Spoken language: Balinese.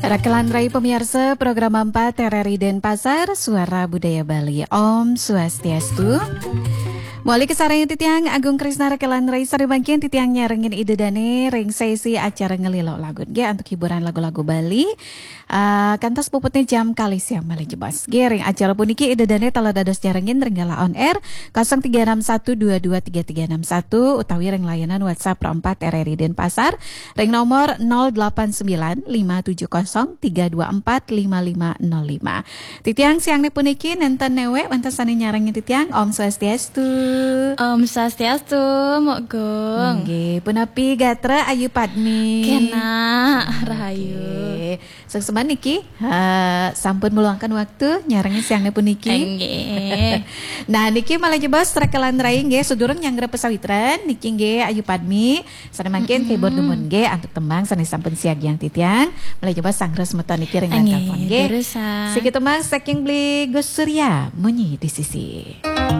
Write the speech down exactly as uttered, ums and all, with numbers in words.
Rakelan rai pamiarsa program empat R R I Denpasar, Suara Budaya Bali. Om Swastiastu. Mauliu kasarengin titiang Agung Krisna, rakelan rai, sane mangkin titiang nyarengin Ida Dane ring sesi acara Ngelilo Lagu nggih antuk hiburan lagu-lagu Bali. Ah, kantos puputne jam kalih siang malih jebos. Nggih, ring acara puniki Ida Dane taler dados nyarengin ring galah on air kosong tiga enam satu dua dua tiga tiga enam satu utawi ring layanan WhatsApp Pro empat R R I Denpasar ring nomor nol delapan sembilan lima tujuh kosong tiga dua empat lima lima nol lima. Titiang siangne puniki nenten newek wenten sane nyarengin titiang. Om Swastiastu. Om Swastiastu, Mbok Gung. Nggih, punapi gatra Ayu Padmi? Kenak, rahayu. Nggih. Suksma niki, ha, sampun meluangkan waktu nyarengin siangne puniki. Nggih. Nah, niki malih jebos rakelan rai nggih, sadurung nyanggra pasawitran niki nggih Ayu Padmi. Sane mangkin, mm-mm, keyboard dumun nggih antuk tembang sane sampun siagiang titiang. Malih jebos sanggra semeton niki ring line telepon nggih. Durus, ah. Siki tembang saking Bli Gus Surya, Munyi di Sisi.